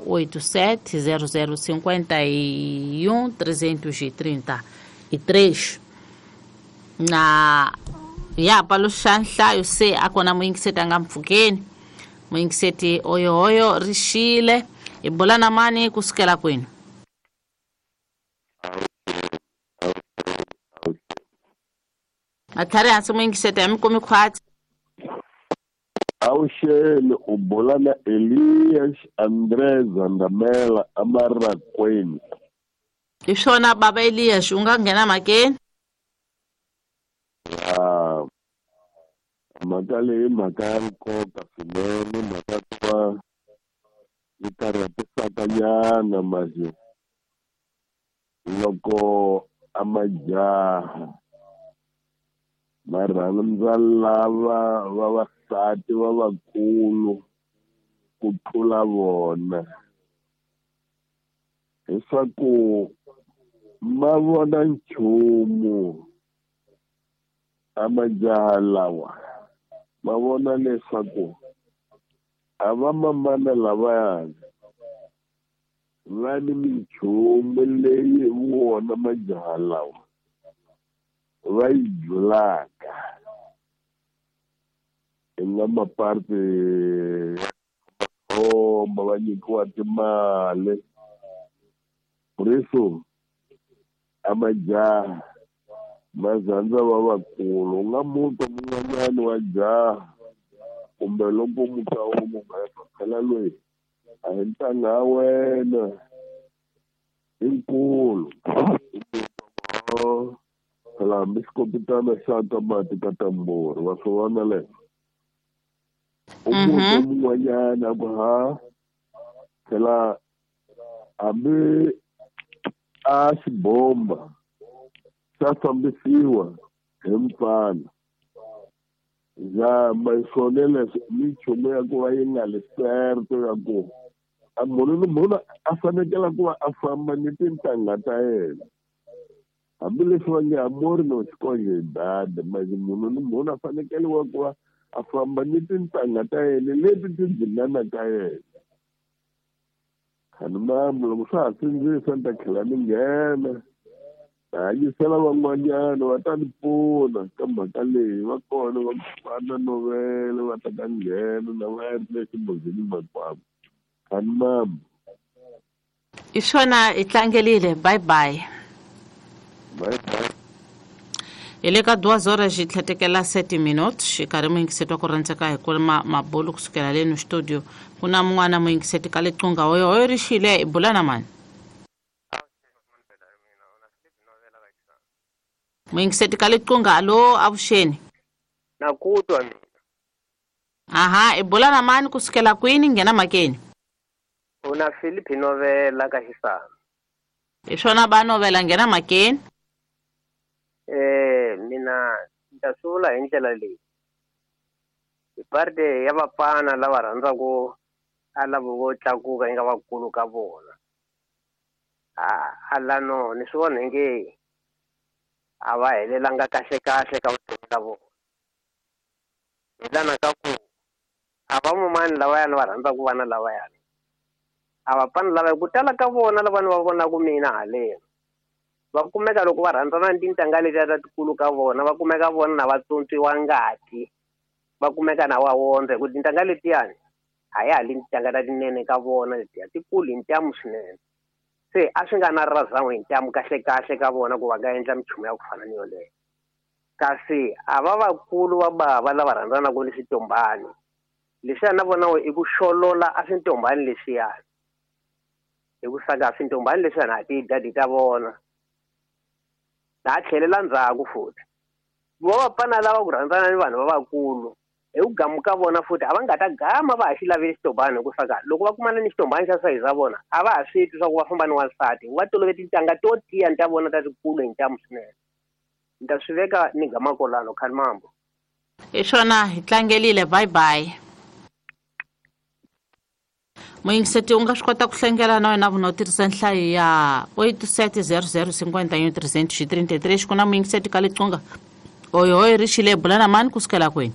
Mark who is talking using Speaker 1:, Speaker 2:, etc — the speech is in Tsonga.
Speaker 1: 87 00 51 333 na ya paluxa nhlayo se a kona muyingiseti a nga mpfhukeni. Muyingiseti oyohoyo rixile hi bula na mani kusukela kwini? Matlhari hansi muyingiseti a mi kumi khwatsi.
Speaker 2: Avuxeni, u bula na Elias André Zandamela eMarakweni.
Speaker 1: Hi swona baba Elias, u nga nghena mhakeni?
Speaker 2: Ya, mhaka leyi mhaka ya nkoka swinene, mhaka ku va yi karhatisaka nyana manje loko a majaha va rhandza lava vavasati va vakulu ku tlula vona, leswaku ma vona nchumu a majaha lawa ma vona leswaku a va mamana lavayani va ni minchumu leyi vona majaha lawa va yi julaka i nga maparti ya va nyikiwa timali riso a majaha mazandza va vakulu. U nga muta mun'wanyani wa jaha kumbe loko muta u phela loyi a hi ntangha ya wena i nkulu phela hambi xikopitana xa ka mati ka tamburi wa swi vona leswo. U muta mun'wanyana a ku ha phela hambi a xibomba xa fambisiwa hi mfana zama swona leswi minchumu ya ku va yi nga le certo ya ku a munhu ni munhu a fanekele ku va a famba ni tintangha ta yena hambileswi va nge amori no xikonje hi dada manje munhu ni munhu a fanekeliwa ku va a famba ni tintangha ta yena leti ti dzinganaka yena. Khani mama loko swa ha sindzisa ni ta tlhela ni nghena hanyisela van'wanyana va ta ni pfuna ka mhaka leyi va kona va fana novele va ta ka nghena na va ya ri le ximbozini makwavo. Khani mama
Speaker 1: i swona hi tlangelile. Bye bye.
Speaker 2: Bye bye.
Speaker 1: Hi le ka 2 horas tlhetekela 7 minutes xikarhi muyingiseti wa ku rhandzeka hi kuma mabulu kusukela leno studio. Ku na mun'wana muyingiseti ka liqunga hoyo hoyo rixile hi bula na mani? Muyingiseti ka liqunga alo avuxeni.
Speaker 3: Na ku twa mina.
Speaker 1: Aha, i bula na mani kusukela kwini nghena mhakeni?
Speaker 3: U na Philip Novela ka Xisana.
Speaker 1: Hi swona ba Novela nghena mhakeni.
Speaker 3: Mina ni ta swi vula hi ndlela leyi. Hi parte ya vapfana lava rhandzaka a lava vo tlakuka yi nga vakulu ka vona. A lano ni swi vona inge a va helelanga kahle kahle ka vutomi la vona. Hi lana ka ku a va mumani lavayani va rhandzaka vana lavayani. A vapfana lava ku tala ka vona lava ni va vonaka mina haleni. Va kumeka loko va rhandzana ni tintangha letiya ta tikulu ka vona, va kumeka vona na va tsontswiwa ngati, va kumeka na wa wondza hi ku tintangha letiyani a ya ha li tintangha ta tinene ka vona letiya tikulu hi ntamu swinene. Se a swi nga na razan'we hi ntamu kahle kahle ka vona ku va nga endla minchumu ya ku fana ni yoleyo. Kasi a va vakulu va bava lava rhandzanaka ni switombani leswiya na vona i ku xolola a swintombani leswiyani hi ku saka swintombani leswiyani a ti dadi ta vona. Na tlhelela ndzhaku futhi vo vapfana lava ku rhandzana ni vanhu va vakulu hi ku gamuka vona futhi a va nga ta gama va ha xi laveli xitombani hi ku saka loko va kumana ni xitombani xa sayizi ya vona a va ha swi twi swa ku va famba ni wansati va tolovele tintangha to tiya ni ta vona ta tikulu hi ntamu swinene. Ni ta swi veka ni gama kolano khani mambo.
Speaker 1: Hi swona hi tlangelile. Bye bye. Muyingiseti u nga swi kota ku hlengela na wena vuna u tirhisa nhlayo ya 87 00 51 333. Ku na muyingiseti ka liqunga oyo hoyo rixile bula na mani kusukela kwini?